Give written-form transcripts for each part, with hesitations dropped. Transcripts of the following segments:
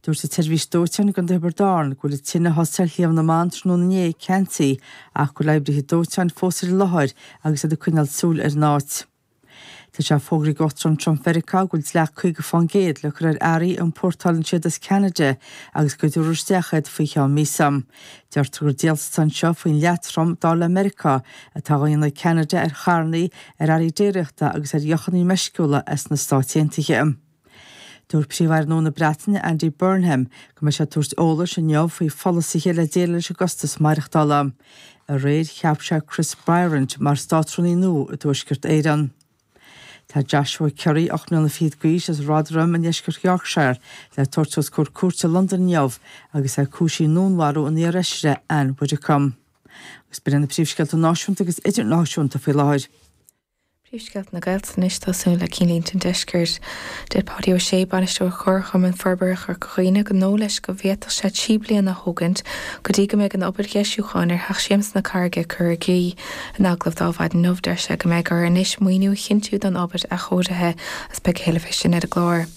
Dúirt an tseirbhís dóiteáin i gContae Thiobraid Árann go bhfuil an tine a thosaigh ar Shliabh na mBan tráthnóna inné ceansaithe ach go bhfuil oibrithe dóiteáin fós ar an láthair agus iad ag coinneáil súil ar an áit. Tá sé fógraithe ag Uachtarán Trump Mheiriceá go bhfuil dleacht 50% le cur ar earraí a iompórtálann siad as Ceanada agus go dtabharfar isteach iad faoi cheann míosa. Deirtear gur díoltas atá anseo faoin ndleacht trom dar le Meiriceá atá á dhéanamh ag Ceanada ar charranna, ar earraí déiríochta agus ar dheochanna meisciúla as na Stáit Aontaithe. Dúirt Príomh-Aire nua na Breataine, Andy Burnham, go mbeidh sé ag tabhairt eolais inniu faoi pholasaithe le déileáil leis an gcostas maireachtála. Aréir, cheap sé Chris Bryant mar Státrúnaí nua i dTuaisceart Éireann. Tá Joshua Currie, 8 mbliana fichead d'aois, as Rotherham i ndeisceart Yorkshire, le tabhairt os comhair cúirte i Londain inniu agus é cúisithe i ndúnmharú an iar-fheisire Ann Widdecombe. Agus b'in iad na príomhscéalta náisiúnta agus idirnáisiúnta faoi láthair. Príomhscéalta na Gaeltachta anois, tosú le Cinnlínte an Deiscirt. Deir Páidí Ó Sé, Bainisteoir Chomharchumann Forbartha Chorca Dhuibhne, gur dóigh leis go bhféadfadh sé 3 bliana a thógaint go dtí go mbeidh an obair dheisiúcháin ar Theach Siamsa na Carraige curtha i gcrích. In agallamh dó Adhmhaidin inniu, deir sé go mbeidh orthu anois maoiniú a chinntiú don obair athchóirithe agus beidh a thuilleadh fé sin ar an gclár.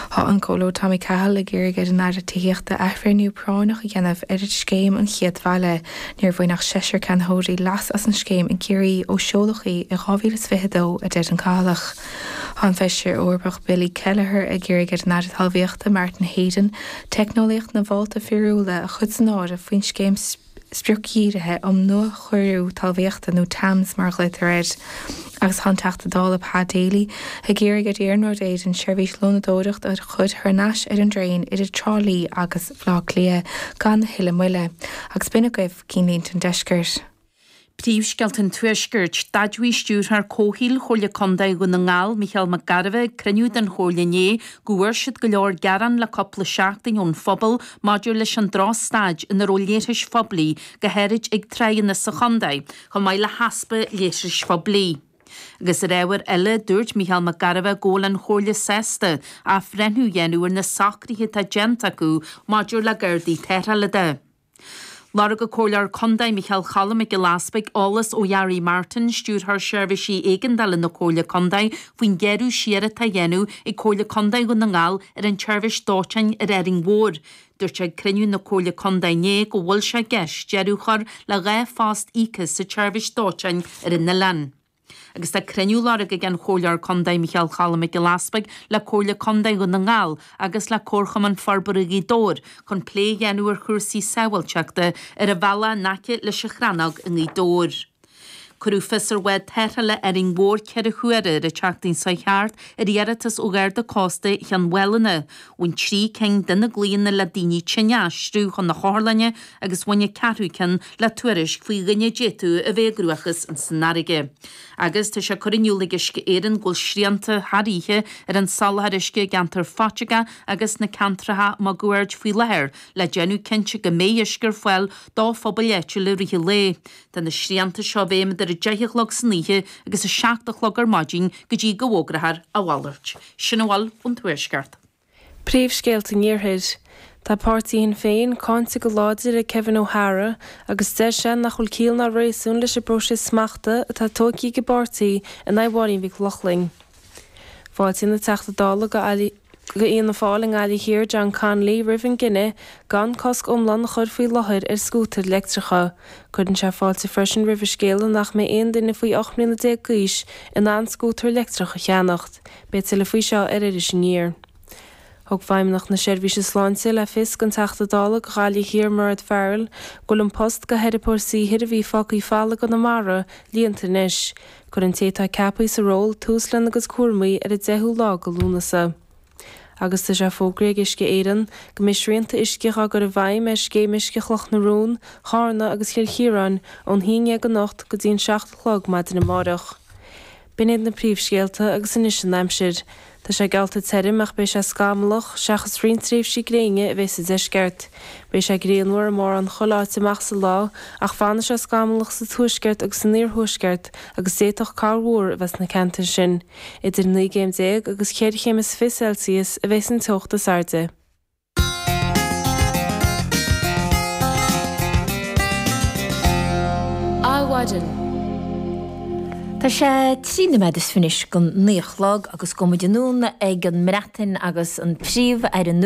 Tá an Comhairleoir Tommy Cahill ag iarraidh ar an Aire Tithíochta athbhreithniú práinneach a dhéanamh ar Scéim an Chéad Bhaile. Níor bhain ach seisear ceannaitheoirí leas as an scéim i gCiarraí ó seoladh í i 2022, a deir an Cathailleach. Tá an Feisire Eorpach Billy Kelleher ag iarraidh ar an Aire Talmhaíochta Martin Heydon teicneolaíocht na bhfálta fíorúla a chur san áireamh faoin scéim spriocdhírithe um nuachóiriú talmhaíochta, nó TAMS mar a ghlaotar air, agus tá an Teachta Dála Pa Daly ag iarraidh ar Iarnród Éireann seirbhís lónadóireachta a chur thar n-ais ar an dtraein idir Trá Lí agus Bhaile Átha Cliath gan a thuilleadh moille. Agus b'in agaibh Cinnlínte an Deiscirt. Príomhscéalta an Tuaiscirt. D'admhaigh Stiúrthóir Comhshaoil Chomhairle Contae Dhún na nGall, Micheál Mac Gairbheith, ag cruinniú den Chomhairle inné go bhfuair siad go leor gearán le cúpla seachtain ón phobal maidir leis an drochstaid ina raibh leithris phoiblí, go háirid ag tráigheanna sa chontae, chomh maith le heaspa leithris phoiblí. Agus ar ábhar eile, dúirt Micheál Mac Gairbheith go bhfuil an Chomhairle sásta athbhreithniú a dhéanamh ar na socruithe atá déanta acu maidir le Gardaí Tarrthála de. Lorg an Comhairleoir Contae Micheál Choilm Mac Giolla Easpaig eolas ó Gary Martin, Stiúrthóir Seirbhísí Éigeandála na Comhairle Contae, faoin ghearradh siar atá á dhéanamh ag Comhairle Contae Dhún na nGall ar an tseirbhís dóiteáin ar Árainn Mhór. Dúirt sé ag cruinniú na Comhairle Contae inné go bhfuil sé i gceist deireadh a chur le 2 phost íoctha sa tseirbhís dóiteáin ar an oileán. Agus tá cruinniú lorgtha ag an Chomhairleoir Contae Micheál Choilm Mac Giolla Easpaig le Comhairle Contae Dhún na nGall agus le Comharchumann Forbartha Ghaoth Dobhair chun plé a dhéanamh ar chúrsaí sábháilteachta ar an bhealach in aice leis an Chrannóg i nGaoth Dobhair. Cuireadh fios ar bhád tarrthála Árainn Mhór 4 huaire ar an tseachtain seo thart ar iarratas ó Gharda Cósta Chionn Mhálanna. Bhain 3 cinn de na glaonna le daoine tinne a aistriú chun na hotharlainne agus bhain an ceathrú ceann le tuairisc faoi dhuine a d'fhéadfadh a bheith i gcruachás san fharraige. Agus tá sé curtha in iúl ag Uisce Éireann go bhfuil srianta thar oíche ar an soláthar uisce i gceantar Phaiteagá agus sna ceantracha máguaird faoi láthair le déanamh cinnte go mbeidh uisce ar fáil do phobail áitiúla i rith an lae. Tá na srianta seo i bhfeidhm idir 10 a chlog san oíche agus 7 a chlog ar maidin go dtí go bhfógrófar a mhalairt. Sin a bhfuil ón Tuaisceart. Príomhscéalta an Iarthair. Tá páirtí Shinn Féin cáinte go láidir ag Kevin O'Hara agus deir sé nach bhfuil ciall ná réasún leis an bpróiseas smachta atá tógtha ag an bpáirtí in aghaidh Mháirín Mhic Lochlainn. Fáiltíonn an Teachta Dála go Fhianna Fáil i nGaillimh Thiar John Connolly roimh an gcinneadh gan cosc iomlán a chur faoi láthair ar scútair leictreacha. Cuireann sé fáilte freisin roimh an scéala nach mbeidh aon duine faoi 18 mbliana d'aois in ann scútar leictreach a cheannacht. Beidh tuilleadh faoi seo ar Iris Aniar. Thug Feidhmeannacht na Seirbhíse Sláinte le fios don Teachta Dála do Ghaillimh Thiar Mairéad Farrell go bhfuil an post do theiripeoir saothair a bhí fágtha folamh i gConamara líonta anois. Cuirfidh an té atá ceaptha sa ról tús lena gcuid cúramaí ar an 10ú lá de Lúnasa. Agus tá sé fógraithe ag Uisce Éireann go mbeidh srianta uisce á gcur i bhfeidhm ar Scéim Uisce Chloch na Rón, Chárna agus Chill Chiaráin ón haon dhéag anocht go dtí an 7 a chlog maidin amárach. B'in iad na príomhscéalta agus anois an aimsir. Tá sé geallta tirim ach beidh sé scamallach, seachas roinnt tréimhsí gréine a bheidh sa deisceart. Beidh sé grianmhar i mórán chuile áit amach sa lá ach fanfaidh sé scamallach sa tuaisceart agus san iarthuaisceart agus d'fhéadfadh corrmhúr a bheith sna ceantair sin. Idir 19 gcéim agus cheithre chéim is fiche Celsius a bheidh an teocht is airde. Adhmhaidin. Tá sé 13 nóiméad is fiche anois don 9 a chlog agus gabhfaidh muid anonn ag an mBreatain agus an Príomh-Aire nua.